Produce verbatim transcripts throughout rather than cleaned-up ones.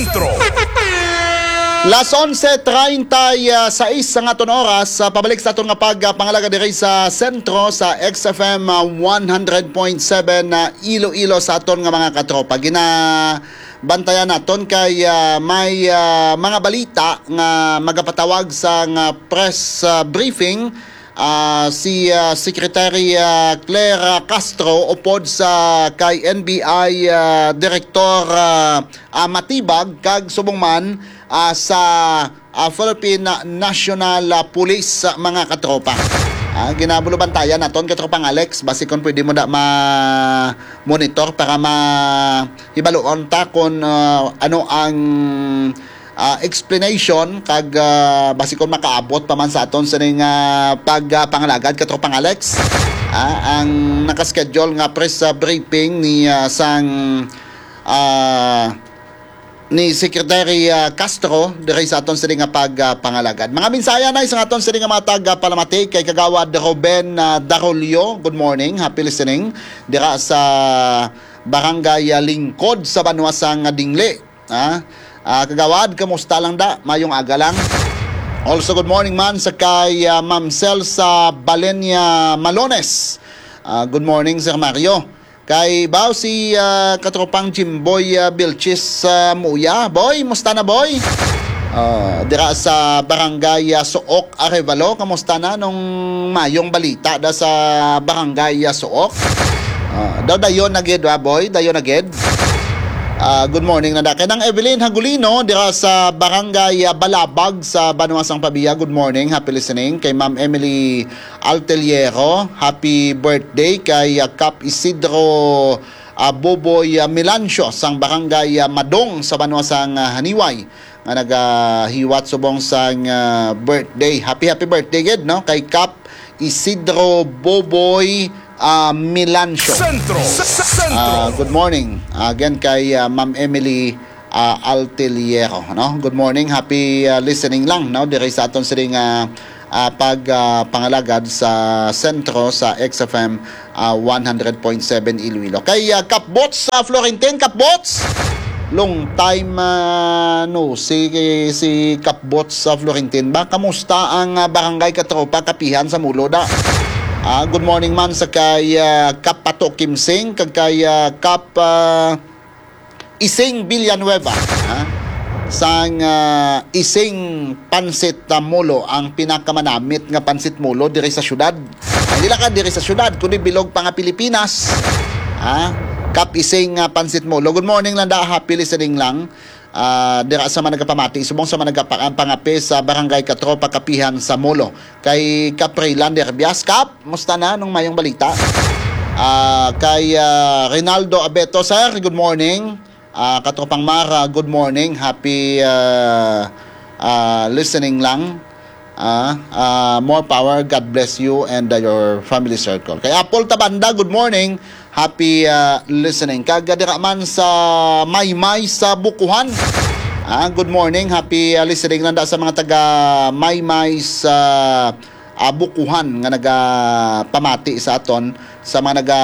Sentro. Las onse treinta y seis ang aton oras. Ah, pabalik sa aton nga pagpangalagad diri sa Sentro sa X F M, ah, one hundred point seven na Iloilo sa aton nga mga katropa. Ginabantayan naton kay, ah, may, ah, mga balita nga magapatawag sa nga press, ah, briefing, ah, si, ah, Secretary, ah, Claire, ah, Castro upod sa kay N B I, ah, Director, ah, ah, Matibag kag subong man, ah, sa, ah, Philippine National, ah, Police, ah, mga katropa. Ah, ginabulubantayan naton, katropang Alex, basi kung pwede mo da ma-monitor para mahibaluon ta kung, ah, ano ang, ah, explanation kag, ah, basi kung makaabot pa man sa aton sining, ah, pag, ah, pangalagad, katropang Alex. Ah, ang nakaschedule nga press, ah, briefing ni, ah, sang, ah, ni Secretary, ah, Castro diri sa aton sini nga pag, ah, pangalagad. Mga mensahe na sa aton sini nga mga tag, ah, palamati kay Kagawad Ruben, ah, Darolio. Good morning, happy listening dira sa Barangay, ah, Lingkod sa banwa sang Dingli. Ah, ah, Kagawad, kamusta lang da? Mayong aga lang. Also, good morning man sa kay, ah, Ma'am Cel sa Balenia Malones. Ah, good morning, Sir Mario. Kay baw si, ah, katropang Jimboy, ah, Vilches sa Muya. Boy, musta na, boy? Ah, dira sa Barangay, ah, Suok, Arevalo, kamusta na nung mayong balita da sa Barangay, ah, Suok? Ah, daw dayon na gid, wa, boy? Dayon na gid. Ah, good morning na da. Kay Nang Evelyn Hagulino dira sa Barangay, ah, Balabag sa Banwa sang Pabia. Good morning, happy listening. Kay Ma'am Emily Alteliero, happy birthday kay, ah, Kap Isidro, ah, Boboy, ah, Milancio sang Barangay, ah, Madong sa banwa sang, ah, Haniway nga nagahiwat subong sang, ah, birthday. Happy, happy birthday gid, no, kay Kap Isidro Boboy, ah, Milancio. Sentro. Sa, sa, Sentro. Ah, good morning. Again kay, ah, Ma'am Emily, ah, Alteliero, no? Good morning. Happy, ah, listening lang, no? Diri sa aton sining, ah, ah, pag, ah, pangalagad sa Sentro sa X F M, ah, one hundred point seven Iloilo. Kay, ah, Kapbots, ah, Florentin, Kapbots! Long time, ah, no, si, si Kapbots sa Florentin ba? Kamusta ang, ah, barangay katropa kapihan sa Mulo da? Ah, good morning man sa kay, ah, Kap Pato Kimsing, kag kay, ah, Kap, ah, Ising Villanueva, ha? Sang, ah, Ising Pansit, ah, Molo, ang pinakamanamit nga pansit molo diri sa syudad. Ay, dili lang ka diri sa syudad, kundi bilog pa nga Pilipinas. Ha? Kap Ising, ah, Pansit Molo. Good morning lang da, happy listening lang. Ah, dira sa mga nagapamati, subong sa mga nagapa-, ang pangape sa Barangay Katropa Kapihan sa Molo. Kay Kaprilan Derbias, Kap, musta na? Anong mayong balita? Ah, kay, ah, Rinaldo Abeto, sir, good morning. Ah, Katropang Mara, good morning. Happy, ah, ah, listening lang. Ah, ah, more power. God bless you and, uh, your family circle. Kay Apple Tabanda, good morning. Happy, ah, listening. Kag dira man sa Maymay sa Bukuhan. Ah, good morning. Happy, ah, listening lang da sa mga taga Maymay sa, ah, Bukuhan nga nagapamati sa aton, sa mga naga,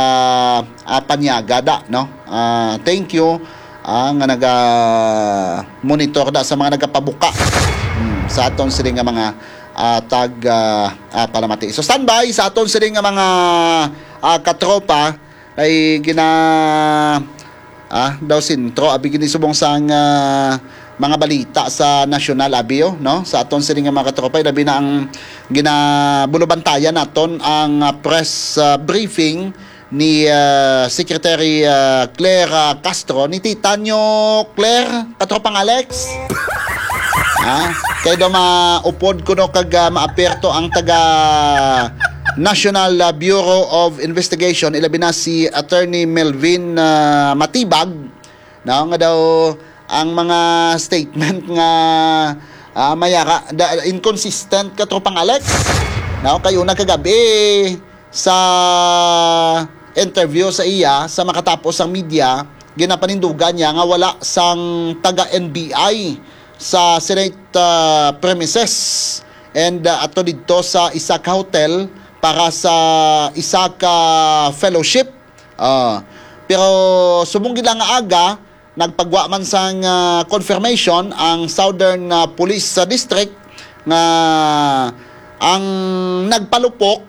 ah, panyaga da, no? Ah, thank you, ah, nga naga monitor da sa mga nagapabuka, hmm, sa aton sini nga mga, ah, tag, ah, ah, palamati. So, standby sa aton sini nga mga, ah, katropa kay gina, ah, daw sentro, abi gini subong sang, ah, mga balita sa nasyonal, abi, oh, no? Sa aton sini nga mga katropa, labi na ang ginabulubantayan naton ang, ah, press, ah, briefing ni, ah, Secretary, ah, Claire, ah, Castro. Ni Titanyo Claire, katropang Alex. Ha? Kay daw maupod kuno kag, ah, maaperto ang taga National, ah, Bureau of Investigation, ilabi na si Attorney Melvin, ah, Matibag, no, nga daw ang mga statement nga, ah, mayara, da, inconsistent, katropang Alex. No, kay una kagabi sa interview sa iya sa makatapos ang media, ginapanindugan niya nga wala sang taga N B I sa Senate, ah, premises and, ah, ato didto sa isa ka hotel para sa isa ka fellowship. Ah, pero subong gid lang nga aga, nagpagwa man sang, ah, confirmation ang Southern, ah, Police, ah, District nga ang nagpalupok,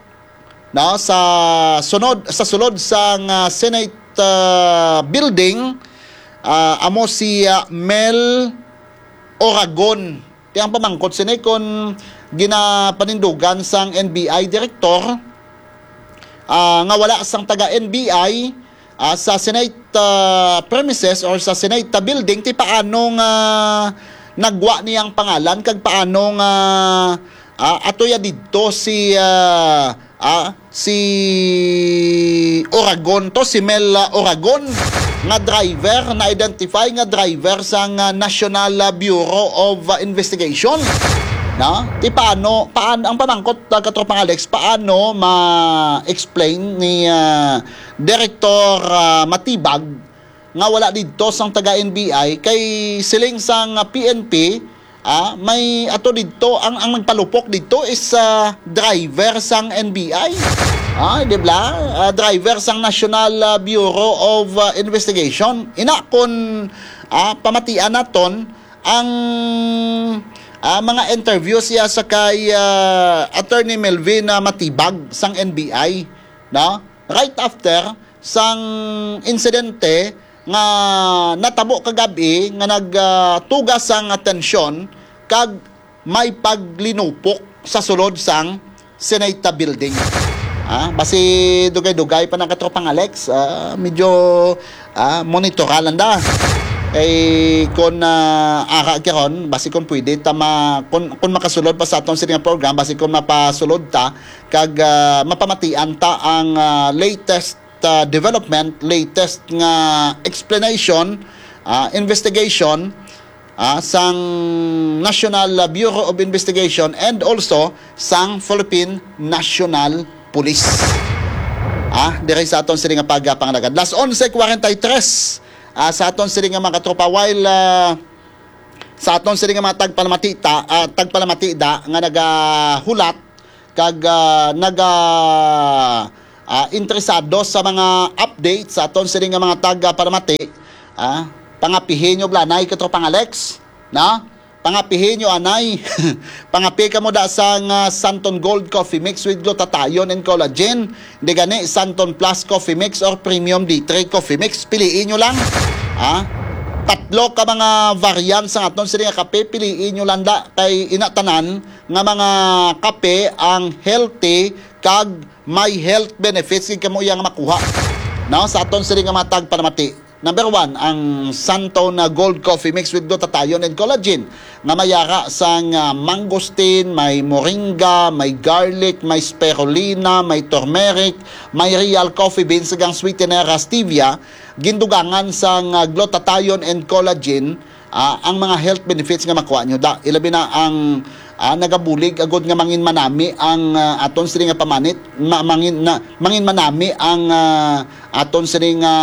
no, sa sunod, sa sulod sang, ah, Senate, ah, building, ah, amo si, ah, Mel Oragon. Ti ang pamangkot sini kon ginapanindugan sang N B I director, ah, nga wala sang taga N B I, ah, sa Senate, ah, premises or sa Senate, ah, building, ti paano nga nagwa niyang pangalan kag paano nga, ah, atoya didto si, ah, ah, si Oragon to, si Mel, ah, Oragon, nga driver, na-identify nga driver sang, ah, National, ah, Bureau of, ah, Investigation. Na? Ti paano, paan-, ang pamangkot, ah, Katropang Alex, paano ma-explain ni, ah, Director, ah, Matibag nga wala didto sang taga N B I, kay siling sang, ah, P N P, ah, may ato didto, ang, ang nagpalupok didto is, ah, driver sang N B I. Ah, di ba? Ah, driver sang National, ah, Bureau of, ah, Investigation. Ina kon, ah, pamatian naton ang, ah, mga interview siya sa kay, ah, Attorney Melvin, ah, Matibag sang N B I, no? Right after sang insidente nga natabo kagab-i nga nag, ah, tuga sang atensyon kag may paglinupok sa sulod sang Senate building. Ah, basi dugay-dugay pa na, Katropang Alex, ah, medyo, ah, monitoran lang da. Kay kun, ah, ara karon, basi kun pwede ta ma-, kun, kun makasulod pa sa aton sini nga program, basi kun mapasulod ta kag, ah, mapamatian ta ang, ah, latest, ah, development, latest nga explanation, ah, investigation, ah, sang National Bureau of Investigation and also sang Philippine National Police. Ah, diri sa aton sini nga pagpangalagad. Las onse cuarenta y tres, ah, sa aton sini nga mga katropa, while, ah, sa aton sini nga mga tagpalamati ta, ah, tagpalamati da nga nagahulat kag, ah, naga, ah, interesado sa mga update sa aton sini nga mga tagpalamati, ah, pangapihi nyo blanay, Katropang Alex, na? Pangapihi nyo anay. Pangapi kamo da sang, ah, Santon Gold Coffee Mix with Glutathione and Collagen. Di gani, Santon Plus Coffee Mix or Premium D three Coffee Mix. Piliin nyo lang. Ha? Tatlo ka mga variant sa aton sini nga kape. Piliin nyo lang da. Kay ina tanan nga mga kape ang healthy kag may health benefits gid kamo iya nga makuha. No? Sa aton sini nga mga tagpalamati. Number one, ang Santon Gold Coffee Mix with Glutathione and Collagen nga may ara sang, ah, mangosteen, may moringa, may garlic, may spirulina, may turmeric, may real coffee beans, kag ang sweetener, ah, stevia, gindugangan sang, ah, glutathione and collagen, ah, ang mga health benefits nga makuha nyo da. Ilabi na ang, ah, nagabulig agud nga mangin manami ang, ah, aton sini nga pamanit, ma-, mangin, na, mangin manami ang, ah, aton sini nga,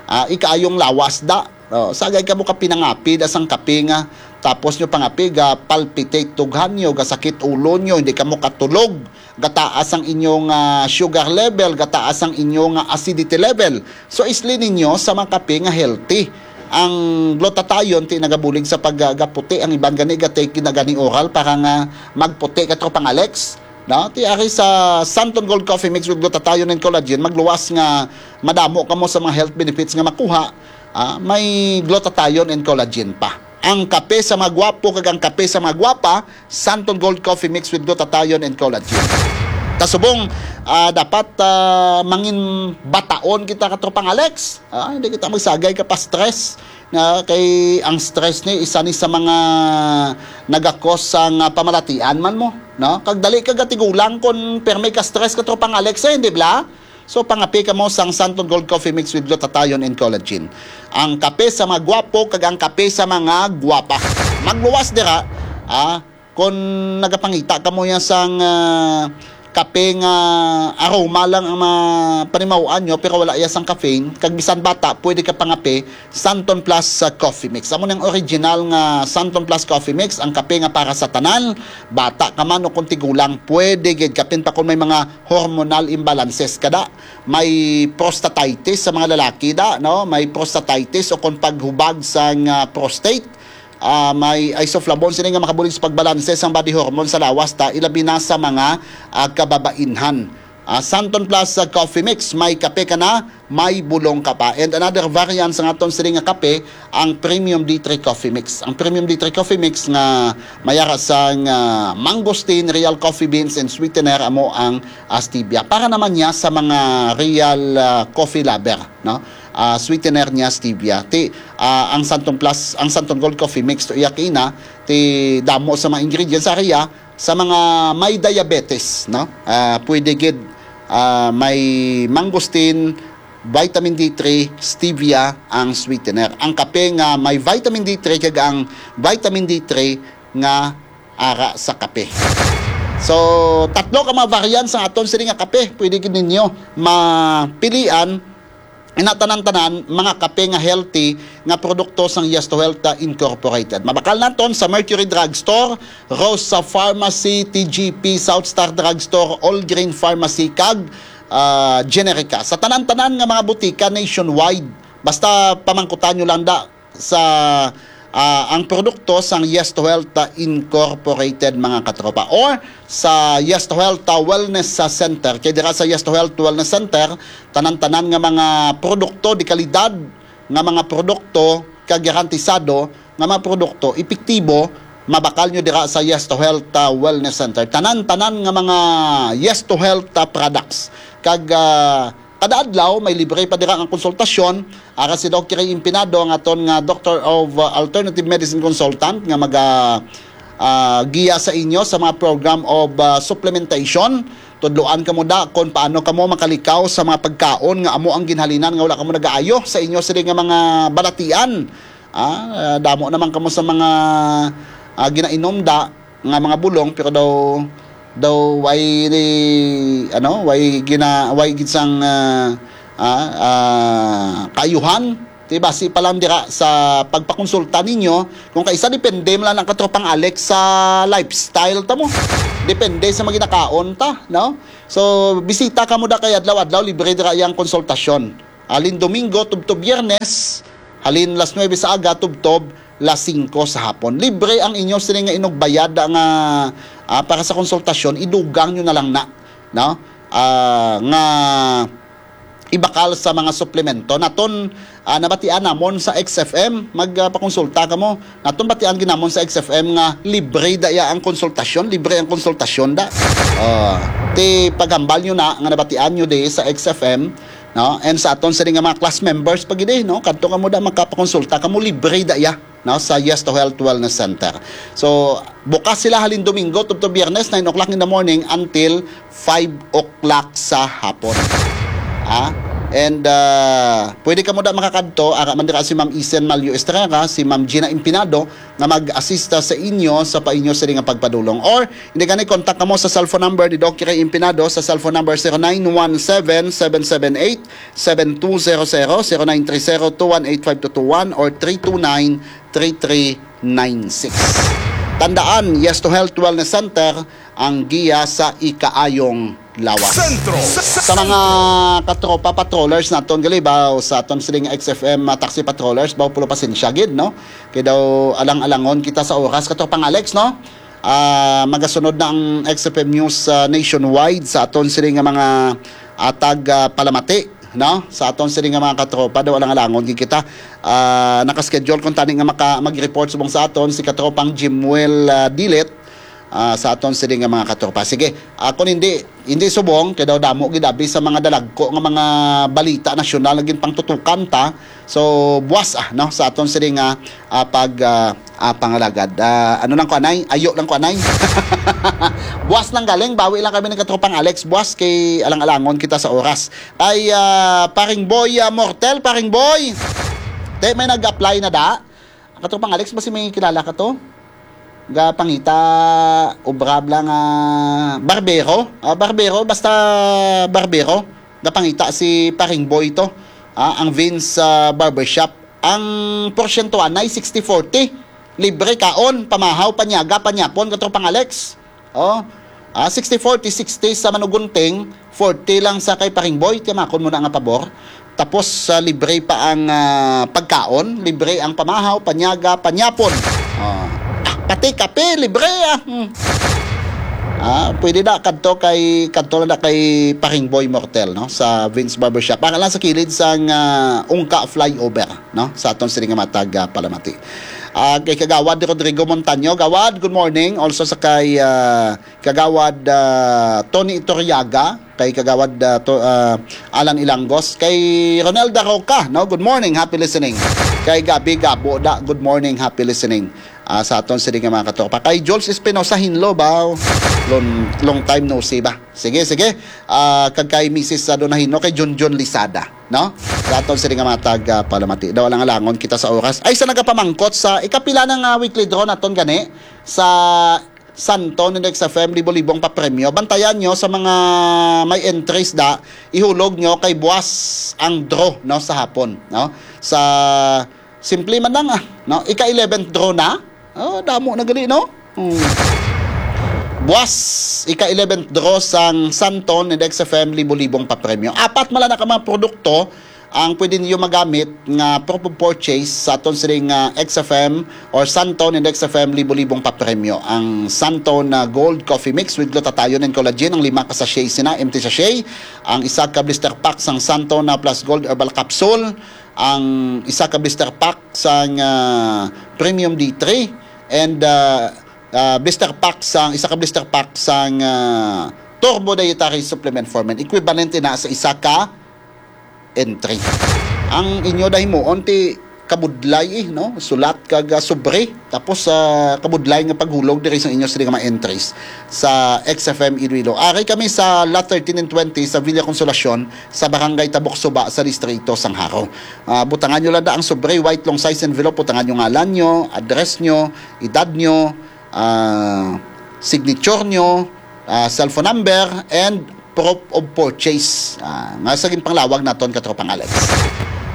ah, ikaayong lawas da. Oh, sagay kamo ka pinangapi da sang kape nga, tapos nyo pangapi, ga palpitate tughan nyo, ga sakit ulo nyo, hindi kamo katulog, gataas ang inyong, ah, sugar level, gataas ang inyong, ah, acidity level. So, isli ninyo sa mga kape nga healthy. Ang glutathione ti nagabulig sa paggaputi, ang iban gani ga-take na gani oral para nga magputi, Katropang Alex. No? Ti ari sa Santon Gold Coffee Mix with Glutathione and Collagen, magluwas nga madamo kamo sa mga health benefits nga makuha, ah, may glutathione and collagen pa. Ang kape sa mga gwapo kag ang kape sa mga gwapa, Santon Gold Coffee Mix with Glutathione and Collagen. Kasubong, ah, dapat, ah, mangin bataon kita, Katropang Alex. Ah, hindi kita magsagay ka pa stress. Nga kay ang stress ni isa ni sa mga nagakos sang, ah, pamalatian man mo, no? Kag dali ka gatigulang kon permi ka stress, Katropang Alex, eh, di ba? So, pangapi kamo sang Santon Gold Coffee Mix with Glutathione and Collagen. Ang kape sa mga gwapo kag ang kape sa mga gwapa. Magluwas dira, ah, kung nagapangita kamo yan sang, ah, kape nga aroma lang ang mapanimaw-an nyo, pero wala iya sang caffeine, kag bisan bata, pwede ka pangape, Santon Plus sa Coffee Mix. Amo nang original nga Santon Plus Coffee Mix, ang kape nga para sa tanan, bata ka man o kung tigulang, pwede gid, kapin pa kung may mga hormonal imbalances ka da. May prostatitis sa mga lalaki da, no? May prostatitis o kung paghubag sang, ah, prostate. Ah, may isoflavone sini nga makabulig sa pagbalanse sang body hormone sa lawas ta, ilabi na sa mga, ah, kababainhan. Ah, Santon Plus, ah, Coffee Mix, may kape ka na, may bulong ka pa. And another variant sa aton sini nga kape, ang Premium D three Coffee Mix. Ang Premium D three Coffee Mix nga mayara sang, ah, mangosteen, real coffee beans, and sweetener, amo ang, ah, stevia. Para naman niya sa mga real, ah, coffee lover, no? Ah, sweetener niya stevia. Ti, ah, ang Santon Plus, ang Santon Gold Coffee Mix to iya kina, ti damo sa mga ingredients sa iya sa mga may diabetes, no? Ah, pwede gid, ah, may mangosteen, vitamin D three, stevia ang sweetener. Ang kape nga may vitamin D three kag ang vitamin D three nga ara sa kape. So, tatlo ka mga variants ang aton sini nga kape. Pwede gid ninyo mapilian ina tanan-tanan mga kape nga healthy nga produkto sang Yes to Health, ah, Incorporated. Mabakal naton sa Mercury Drugstore, Rosa Pharmacy, T G P, South Star Drugstore, All Green Pharmacy, kag, ah, Generica. Sa tanan-tanan nga mga butika nationwide, basta pamangkutan nyo lang da sa, ah, ang produkto sang Yes to Health, ah, Incorporated, mga katropa, or sa Yes to Health, ah, Wellness, ah, Center. Kay dira sa Yes to Health Wellness Center, tanan-tanan nga mga produkto de kalidad, nga mga produkto kagarantisado, nga mga produkto epektibo, mabakal nyo dira sa Yes to Health, ah, Wellness Center. Tanan-tanan nga mga Yes to Health, ah, products. Kag, ah, kada adlaw, may libre pa dira nga konsultasyon. Ara si Doc Ray Impinado, ang aton nga Doctor of, uh, Alternative Medicine Consultant, nga maga, ah, giya sa inyo sa mga program of, uh, supplementation. Tudloan kamo da kung paano kamo makalikaw sa mga pagkaon nga amo ang ginhalinan nga wala kamo nagaayo sa inyo sini nga mga balatian. Ah, damo naman kamo sa mga, ah, ginainom da nga mga bulong, pero daw, daw way, ano, way gina-, way gid sang, ah, ah, ah, kaayuhan. Ti basi pa lang dira sa pagpakonsulta ninyo, kung kaisa depende man lang ang katropang Alex sa lifestyle ta mo. Depende sa maginakaon ta, no? So, bisita kamo da kay adlaw-adlaw, libre dira iyang konsultasyon. Halin Domingo tubtob Biyernes, halin las nuebe sa aga tubtob las singko sa hapon. Libre ang inyo sini nga inugbayad nga, ah, para sa konsultasyon, idugang nyo na lang na, no? Ah, nga ibakal sa mga suplemento. Naton, ah, nabatian namon sa X F M, magpakonsulta kamo. Naton batian gid namon sa X F M nga libre da iya ang konsultasyon, libre ang konsultasyon da. Ah, ti paghambal nyo na nga nabatian nyo di sa X F M, no? And sa aton sini nga mga class members pa gid, eh, no? Kadto kamo da, makapakonsulta kamo, libre da iya, no? Sa Yes to Health Wellness Center. So, bukas sila halin Domingo tubtob Biyernes, nine o'clock in the morning until five o'clock sa hapon. Ah? And, ah, pwede kamo da makakadto, ara man dira si Ma'am Isen Malio Estrera, si Ma'am Gina Impinado, nga mag-assista sa inyo sa pa inyo sini nga pagpadulong. Or, hindi gani, contact kamo sa cellphone number ni Doc Ray Impinado sa cellphone number zero nine one seven, seven seven eight, seven two zero zero, zero nine three zero, two one eight, five two two one, or three two nine, three three nine six. Tandaan, Yes to Health Wellness Center, ang giya sa ikaayong lawas. Sentro. Sa mga katropa patrollers naton gali ba, o sa aton siling X F M, ah, taxi patrollers ba, pulo pasensya gid, no? Kay daw alang-alangon kita sa oras, katropang Alex, no? Ah, magasunod na ang X F M News, ah, nationwide sa aton siling nga mga atag, ah, palamati, no? Sa aton siling nga mga katropa, daw alang-alangon gid kita. Ah, naka-schedule kung tani nga maka-, mag-report subong sa aton si katropang Jimuel, ah, Dilet, ah, sa aton sini nga mga katropa. Sige, ah, kung hindi, hindi subong, kay daw damo gid abi sa mga dalagko nga mga balita nasyonal nga ginpangtutukan ta. So, buwas, ah, no, sa aton sini nga, ah, pag, ah, ah, pangalagad. Ah, ano lang ko, anay? Ayo lang ko, anay? Buwas lang galing, bawi lang kami ni katropang Alex. Buwas kay alang-alangon kita sa oras. Ay, ah, paring boy, ah, Mortel, paring boy. Te, may nag-apply na da? Katropang Alex, basi may kilala ka to? Gapangita, obra bala nga barbero. Ah, barbero, basta barbero. Gapangita si Paring Boy to. Ah, ang Vince, ah, Barbershop. Ang porsyentuhan ay sixty forty. Libre kaon, pamahaw, panyaga, panyapon, katropang Alex. Oh, ah, sixty forty, sixty sa Manugunting, forty lang sa kay Paring Boy, tiyamakon mo na nga pabor. Tapos, ah, libre pa ang, ah, pagkaon, libre ang pamahaw, panyaga, panyapon. Oh. Pati kape, libre, ah. Hmm. Ah, pwede na kadto kay, kadto na kay Paring Boy Mortel, no, sa Vince Barbershop. Ang lang sa kilid sang, ah, Ungka flyover, no, sa aton sini nga matag, ah, palamati. Ah, kay Kagawad Rodrigo Montaño, Gawad, good morning. Also sa kay, ah, Kagawad, ah, Tony Iturriaga, kay Kagawad, ah, to, ah, Alan Ilangos, kay Ronelda Roca, no? Good morning, happy listening. Kay Gabi Gabo da, good morning, happy listening. Ah, sa aton sini nga mga katropa. Kay Jules Espinosa Hinlo ba? Long, long time no see ba? Sige, sige. Ah, kag kay Missus Sadonahino, kay Junjun Lisada, no? Sa aton sini nga mga tag, ah, palamati. Daw lang alangon kita sa oras. Ay, sa nagapamangkot sa ikapila na nga weekly draw naton gani sa Santon and X F M, libo-libong papremyo. Bantayan nyo sa mga may entries da, ihulog nyo kay buwas ang draw, no, sa hapon, no? Sa simple man lang, ah, no? Ika eleventh draw na. Oh, damo na gali, no? Hmm. Buwas, ika eleventh draw sang Santon and X F M, libo-libong papremyo. Apat man lang na ka mga produkto ang pwede niyo magamit nga proof of purchase sa aton sining, ah, X F M or Santon and X F M, libo-libong papremyo. Ang Santon na Gold Coffee Mix with glutathione and collagen, ang lima ka sachet sina, empty sachet. Ang isa ka blister pack sang Santon na Plus Gold Herbal Capsule. Ang isa ka blister pack sang, ah, Premium D three. And, ah, ah, blister pack sang, isa ka blister pack sang, ah, Turbo Dietary Supplement for Men. Equivalent na sa isa ka entry. Ang inyo daw himuon ti kabudlay, eh, no? Sulat kag, ah, sobre. Tapos, ah, kabudlay nga paghulog diri sa inyo sa mga entries sa X F M Iloilo. Ari kami sa Lot thirteen and twenty sa Villa Consolacion, sa Barangay Tabok Suba, sa Distrito sang Jaro. Ah, butangan nyo lang da ang sobre, white long size envelope, butangan nyo ngalan nyo, address nyo, edad nyo, ah, signature nyo, ah, cellphone number, and proof of purchase. Ah, nga sa ginpanglawag naton, katropang Alex.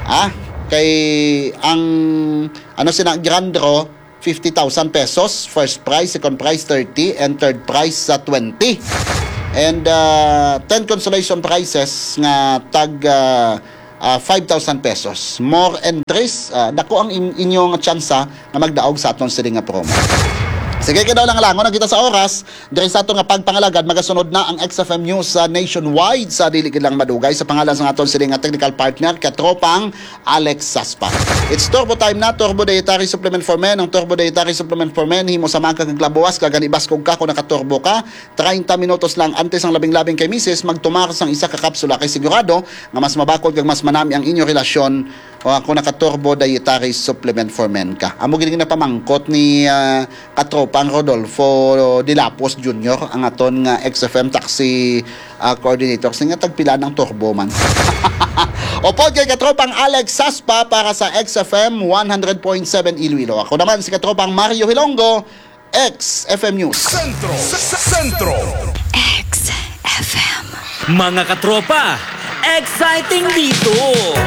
Ah, kay ang, ano sina, grand draw, fifty thousand pesos, first prize, second prize, thirty, and third prize sa twenty. And, ah, ten consolation prizes nga tag, ah, ah, five thousand pesos. More entries, ah, dako ang in-, inyong tsansa nga magdaog sa aton sini nga promo. Sige, kay daw lang langon na kita sa oras. Diri sa aton nga pagpangalagad, magasunod na ang X F M News sa nationwide sa dili gid lang madugay. Sa pangalan sa aton sini nga technical partner, katropang Alex Saspa. It's Turbo Time na, Turbo Dietary Supplement for Men. Ang Turbo Dietary Supplement for Men, himo sa mga kaglabuwas, kag ganibaskog ka kung nakaturbo ka. Treinta minutos lang antes ang labing-labing kay misis, magtumar sang isa ka kapsula kay sigurado nga mas mabakod kag mas manami ang inyo relasyon o kung naka-Turbo Dietary Supplement for Men ka. Amo gid ang napamangkot ni, ah, katropang Rodolfo Dilapos Junior, ang aton nga X F M taxi, ah, coordinator. Kasi nga tagpila ng turbo man. Upod kay katropang Alex Saspa para sa X F M one hundred point seven Iloilo. Ako naman si katropang Mario Hilonggo, X F M News. Sentro. Sentro. X F M. Mga katropa, exciting dito!